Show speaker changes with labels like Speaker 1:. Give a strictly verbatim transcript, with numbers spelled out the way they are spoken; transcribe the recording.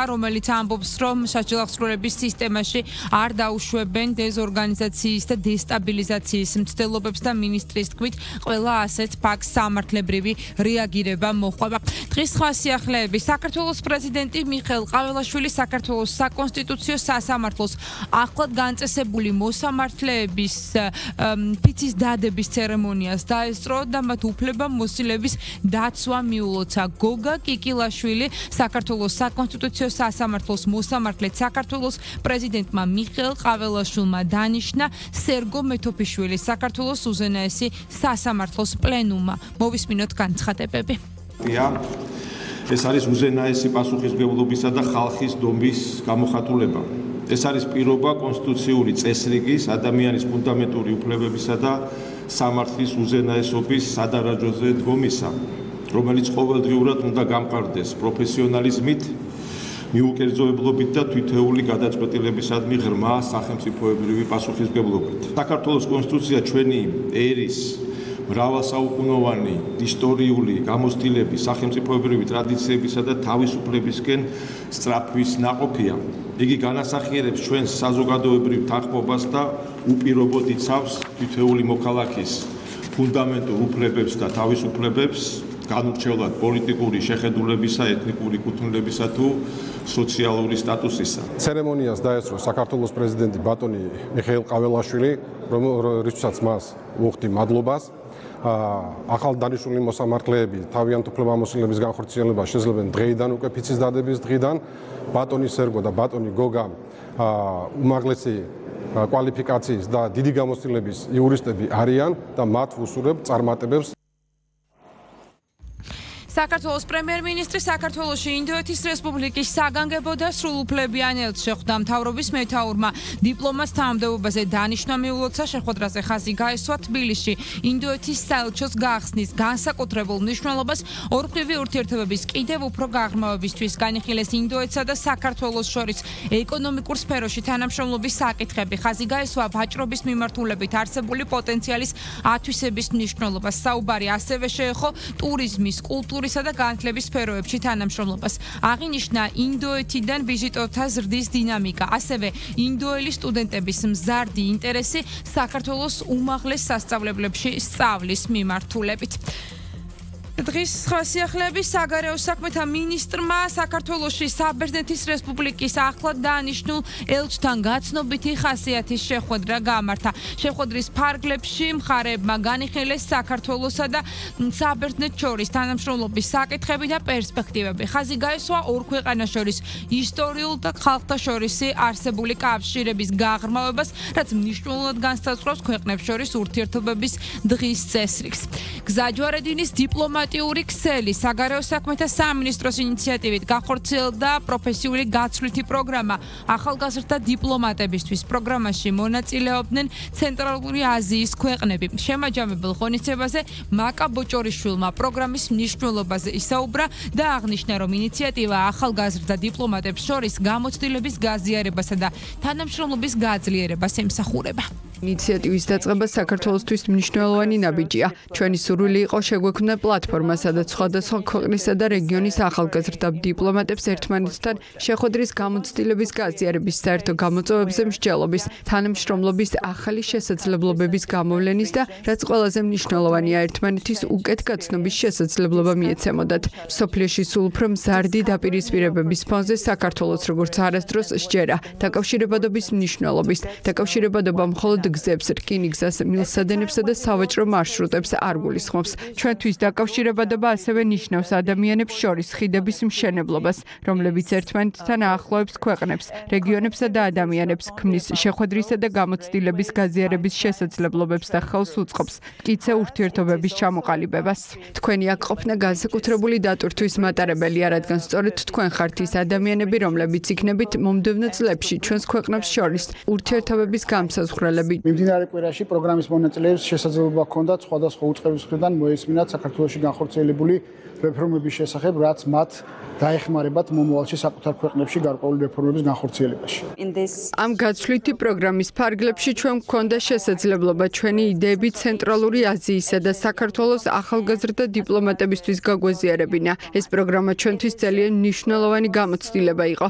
Speaker 1: რომელიც ამბობს, რომ საჯელახსრულების სისტემაში არ დაუშვებენ დეზორგანიზაციის და დესტაბილიზაციის მცდელობებს და მინისტრის თქმით, ყველა ასეთ ფაქტს სამართლებრივი რეაგირება მოჰყვება. დღის სხვა სიახლეები საქართველოს პრეზიდენტი მიხეილ ყაველაშვილი საქართველოს საკონსტიტუციო სასამართლოს ახლად განწესებული მოსამართლეების ფიცის დადების ცერემონიას დაესწრო და მათ უფლებამოსილების დაცვა მიულოცა. გოგა კიკილაშვილი საქართველოს საკონსტიტუციო სასამართლოს მოსამართლედ საქართველოს პრეზიდენტმა მიხეილ ყაველაშვილმა დანიშნა სერგო მეთოფიშვილი საქართველოს უზენაესი სასამართლოს პლენუმმა. მოვისმინოთ განცხადებები.
Speaker 2: ეს არის უზენაესი პასუხისმგებლობისა და ხალხის დომის გამოხატულება. ეს არის პირობა კონსტიტუციური წესრიგის, ადამიანის ფუნდამენტური უფლებებისა და სამართლის უზენაესობის სადარაჯოზე დგომისა, რომელიც ყოველდღიურად უნდა გამყარდეს პროფესიონალიზმით, მიუკერძოებლობით და თვითეული გადაწყვეტილებისადმი ღრმა სახელმწიფოებრივი პასუხისმგებლობით. საქართველოს კონსტიტუცია ჩვენი ერის მრავალსაუკუნოვანი ისტორიული გამოცდილების, სახელმწიფოებრივი ტრადიციებისა და თავისუფლებისკენ სწრაფვის ნაყოფია. იგი განასახიერებს ჩვენს საზოგადოებრივ თანხმობას და უპირობოდ იცავს თითოეული მოქალაქის ფუნდამენტურ უფლებებს და თავისუფლებებს, განურჩევლად პოლიტიკური შეხედულებისა, ეთნიკური კუთვნილებისა თუ სოციალური სტატუსისა.
Speaker 3: ცერემონიას დაესწრო საქართველოს პრეზიდენტი ბატონი მიხეილ ყაველაშვილი, რომელსაც მას ვუხდი მადლობას. ახალ დანიშნული მოსამართლეები თავიანთ უფლებამოსილების განხორციელებას შეძლებენ დღეიდან უკვე ფიცის დადების დღიდან. ბატონი სერგო და ბატონი გოგა უმაღლესი კვალიფიკაციის და დიდი გამოცდილების იურისტები არიან და მათ ვუსურებ წარმატებებს.
Speaker 1: საქართველოს პრემიერ-მინისტრი საქართველოში ინდოეთის რესპუბლიკის საგანგებო და სრულუფლებიან ელჩი ხვდა მთავრობის მეთაურმა დიპლომატს თანამდებობაზე დანიშნა მიულოცა. შეხვედრაზე ხაზი გაესვა თბილისში ინდოეთის საელჩოს გახსნის განსაკუთრებულ მნიშვნელობას ორმხრივი ურთიერთობების კიდევ უფრო გაღრმავებისთვის. განიხილეს ინდოეთსა და საქართველოს შორის ეკონომიკურ სფეროში თანამშრომლობის საკითხები. ხაზი გაესვა ვაჭრობის მიმართულებით არსებული პოტენციალის ათვისების მნიშვნელობას. საუბარი ასევე შეეხო ტურიზმის, კულტურის და განათლების სფეროებში თანამშრომლობას. აღინიშნა ინდოეთიდან ვიზიტორთა ზრდის დინამიკა, ასევე ინდოელი სტუდენტების მზარდი ინტერესი საქართველოს უმაღლეს სასწავლებლებში სწავლის მიმართულებით. დღის სხვა სიახლეები საგარეო საქმეთა მინისტრმა საქართველოში საბერძნეთის რესპუბლიკის ახლად დანიშნულ ელჩთან გაცნობითი ხასიათის შეხვედრა გამართა. შეხვედრის ფარგლებში მხარეებმა განიხილეს საქართველოსა და საბერძნეთს შორის თანამშრომლობის საკითხები და პერსპექტივები. ხაზი გაესვა ორ ქვეყანას შორის ისტორიულ და ხალხთა შორის არსებული კავშირების გაღრმავებას, რაც მნიშვნელოვნად განსაზღვრავს ქვეყნებს შორის ურთიერთობების დღის წესრიგს. გზაჯვარედინის დიპლომატ დიპლომატიური ქსელი საგარეო საქმეთა სამინისტროს ინიციატივით განხორციელდა პროფესიული გაცვლითი პროგრამა ახალგაზრდა დიპლომატებისთვის. პროგრამაში მონაწილეობდნენ ცენტრალური აზიის ქვეყნები. შემაჯამებელ ღონისძიებაზე მაკა ბოჭორიშვილმა პროგრამის მნიშვნელობაზე ისაუბრა და აღნიშნა, რომ ინიციატივა ახალგაზრდა დიპლომატებს შორის გამოცდილების გაზიარებასა და თანამშრომლობის გაძლიერებას ემსახურება.
Speaker 4: ინიციატივის დაწყება საქართველოსთვის მნიშვნელოვანი ნაბიჯია. ჩვენი სურვილი იყო შეგვექმნა პლატფორმა, სადაც სხვადასხვა ქვეყნისა და რეგიონის ახალგაზრდა დიპლომატებს ერთმანეთთან შეხვედრის გამოცდილების გაზიარების, საერთო გამოწვევებზე მსჯელობის, თანამშრომლობის ახალი შესაძლებლობების გამოვლენის და რაც ყველაზე მნიშვნელოვანია, ერთმანეთის უკეთ გაცნობის შესაძლებლობა მიეცემოდათ. სოფლიოში სულ უფრო მზარდი დაპირისპირებების ფონზე საქართველოს როგორც არასდროს სჯერა დაკავშირებადობის მნიშვნელობის, დაკავშირებადობა მხოლოდ გზებს, რკინიგზას, მილსადენებსა და სავაჭრო მარშრუტებს არ გულისხმობს. ჩვენთვის დაკავშირებადობა ასევე ნიშნავს ადამიანებს შორის ხიდების მშენებლობას, რომლებიც ერთმანეთთან აახლოებს ქვეყნებს, რეგიონებსა და ადამიანებს, ქმნის შეხვედრისა და გამოცდილების გაზიარების შესაძლებლობებს და ხელს უწყობს მტკიცე ურთიერთობების ჩამოყალიბებას. თქვენი აქ ყოფნა განსაკუთრებული დატვირთვის მატარებელია, რადგან სწორედ თქვენ ხართ ის ადამიანები, რომლებიც იქნებით მომდევნო წლებში ჩვენს ქვეყნებს შორის ურთიერთობების გამსაზღვრელები.
Speaker 5: მიმდინარე კვირაში პროგრამის მონაწილეებს შესაძლებლობა ჰქონდათ სხვადასხვა უწყების მხრიდან მოესმინათ საქართველოში განხორციელებული რეფორმების შესახებ, რაც მათ დაეხმარებათ მომავალში საკუთარ ქვეყნებში გარკვეული რეფორმების განხორციელებაში.
Speaker 4: ამ გაცვლითი პროგრამის ფარგლებში ჩვენ გვქონდა შესაძლებლობა ჩვენი იდეები ცენტრალური აზიისა და საქართველოს ახალგაზრდა დიპლომატებისთვის გაგვაზიარებინა. ეს პროგრამა ჩვენთვის ძალიან მნიშვნელოვანი გამოცდილება იყო.